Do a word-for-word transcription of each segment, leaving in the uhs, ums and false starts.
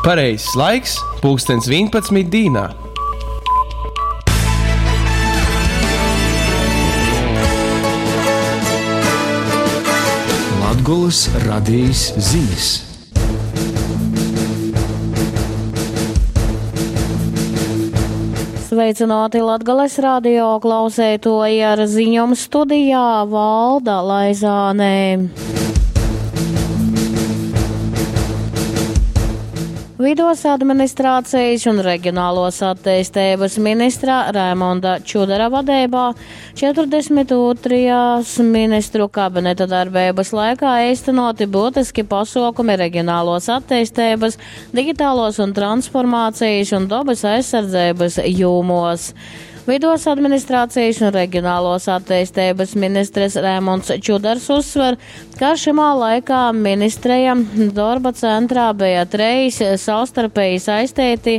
Pareizais laiks – pulkstens vienpadsmit dīnā. Latgolys radejis zinis. Sveicināti Latgales radio klauseitoji ar ziņom studijā Valda Laizānē. Vidos administrācijas un reģionālos attīstības ministra Raimonda Čudara vadeibā četrdesmit otrajās ministru kabineta darbības laikā īstenoti būtiski pasākumi reģionālos attīstības, digitālos un transformācijas un dabas aizsardzības jūmos. Vidos administrācijas un reģionālos attīstības ministres Raimonds Čudars uzsver, ka šimā laikā ministreja darba centrā bija treis savstarpēji saistīti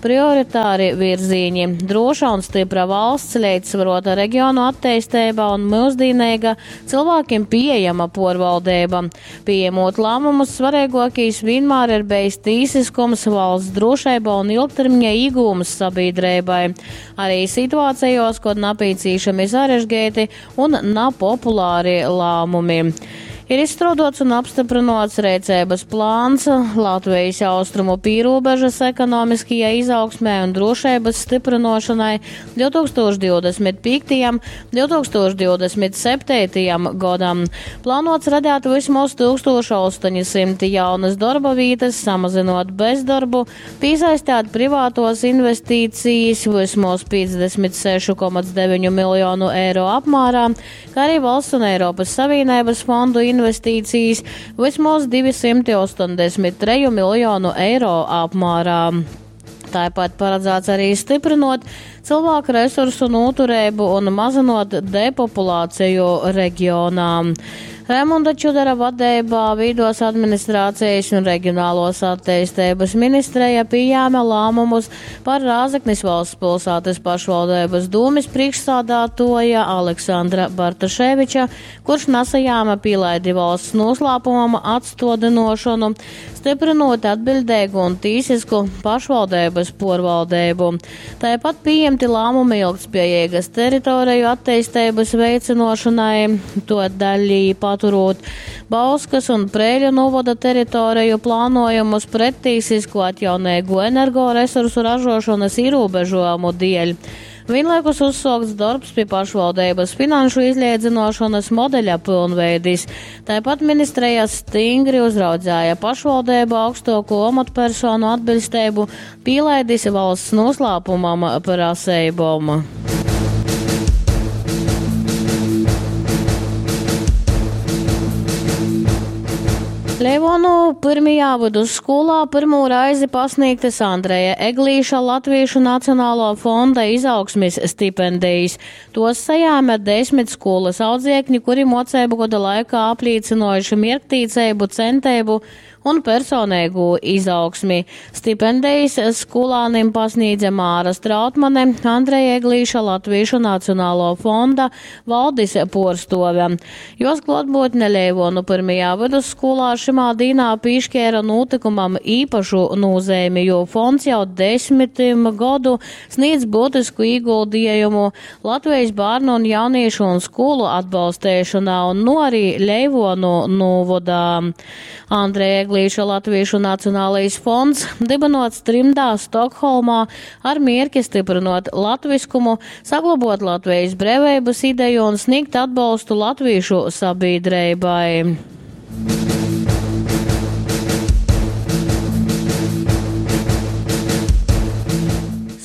prioritāri virzīņi – droša un stipra valsts, līdzsvarota reģionu attīstība un mūsdienīga cilvēkiem pieejama porvaldība. Pieņemot lēmumus, svarīgākais vienmēr ir bijis tīsiskums, valsts drošība un ilgtermiņa iegūms sabiedrībai. Arī situācijos, kad napīcīšami sarežģīti un nepopulāri lēmumi. Ir izstrādāts un apstiprināts rīcības plāns Latvijas austrumu pīrūbežas ekonomiskajai izaugsmē un drošības stiprinošanai divtūkstoš divdesmit piektajam, divtūkstoš divdesmit septītajam gadam. Plānots radīt vismaz tūkstoš astoņi simti jaunas darba vietas, samazinot bezdarbu, piesaistīt privātos investīcijas vismaz piecdesmit sešu komats deviņu miljonu eiro apmērā, kā arī valsts un Eiropas Savienības fondu investīcijas vismaz divi simti astoņdesmit treju miljonu eiro apmērā. Tāpat paredzēts arī stiprinot cilvēku resursu noturību un mazinot depopulāciju reģionā. Raimonda Čudara vadībā Vidos administrācijas un reģionālos attīstības ministrija pieņēma lēmumus par Rāzeknis valsts pilsētas pašvaldības dūmes priekšsādātoja Aleksandra Bartaševiča, kurš nesajāma pīlaidi valsts noslēpumam atstodinošanu, stiprinot atbildīgu un tīsisku pašvaldības porvaldību. Tāpat pieņemti lēmumi ilgtspējīgas teritoriju attīstības veicinošanai, to daļī paturot Bauskas un Prēļu novada teritoriju plānojumus prettīsisku atjaunīgu energoresursu ražošanas ierobežojumu dēļ. Vienlaikus uzsākts darbs pie pašvaldības finanšu izliedzinošanas modeļa pilnveidis. Tāpat ministrija stingri uzraudzēja pašvaldību augstāko amatpersonu atbilstību, pīlaidis valsts noslēpumam prasībom. Leivonu pirmajā vidusskolā pirmo reizi pasniegtas Andreja Eglīša Latviešu Nacionālo fonda izaugsmes stipendijas. Tos sajāma desmit skolas audziekņi, kuri mocību gada laikā apliecinājuši mierktīcību, centību un personīgu izaugsmi. Stipendijas skolānim pasniedza Māra Strautmane, Andreja Eglīša Latviešu Nacionālo fonda valdis porstove. Jos klātbūtne Leivonu pirmajā vidusskolā šimā dīnā pīšķēra notikumam īpašu nozīmi, jo fonds jau desmitim gadu sniedz būtisku ieguldījumu Latvijas bērnu un jauniešu un skolu atbalstēšanā un nu arī Leivonu novadā. Andreja Eglīša Latviešu Nacionālais fonds dibinots trimdā Stokholmā ar mierki stiprinot latviskumu, saglabot Latvijas brīvības ideju un sniegt atbalstu latviešu sabiedrībai.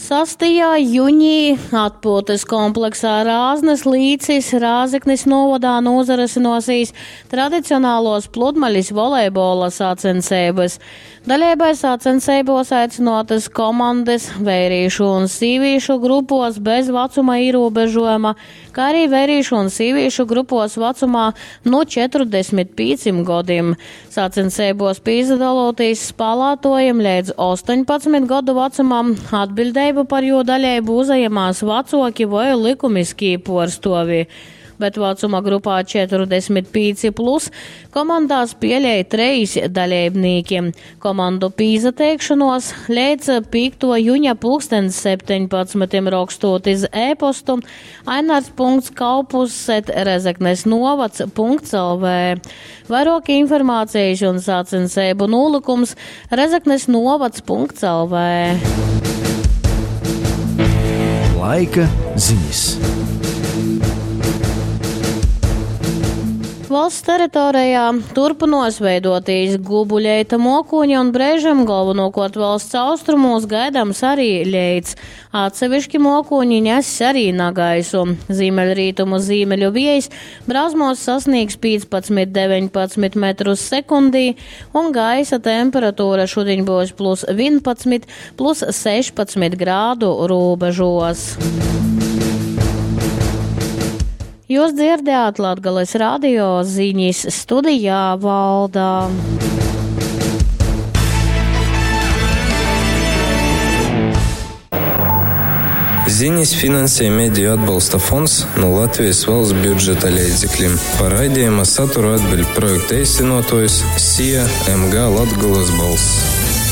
Sastajā jūnijā atpūtas kompleksā Rāznas līcis Rāzeknis novadā nozarasinosīs tradicionālos pludmaļas volejbola sacensības. Daļēbai sacensībos aicinotas komandas vērīšu un sīvīšu grupos bez vecuma ierobežojuma, kā arī vērīšu un sīvīšu grupos vecumā no četrdesmit pieciem gadiem. Sacensībos pīzdalotīs spēlētojiem līdz astoņpadsmit gadu vecumam atbildību par jo daļēbu uzajamās vecoki vai likumiskī porstovi. bet vacuma grupā četrdesmit pīci plus komandā spielej treis daleibnīki. Komandu pīsateikšanos leidz pīktuo juņa pulkstens septeņpadsmitim rokstūt iz e-postu ainars punkts kaupus et rezeknes novads punkts lv. Vairāk informācijas un sacenseibu nūlikums rezeknes novads punkts lv. Laika ziņas. Valsts teritorijā turpinos veidotīs gubuļeita mokūņa un brēžam galvenokārt valsts austrumos gaidams arī ļeits. Atsevišķi mokūņi nes arī nagaisu. Ziemeļrietumu zīmeļu viejs brāzmos sasniegs piecpadsmit deviņpadsmit metrus sekundī un gaisa temperatūra šodien būs plus vienpadsmit, plus sešpadsmit grādu robežos. Jūs dzirdējāt Latgales radio ziņas studijā Valdā. Ziņas finansē Mediju atbalsta fonds no Latvijas valsts budžeta līdzekļiem. Par raidījuma saturu atbild projekta īstenotājs S I A M G Latgales balss.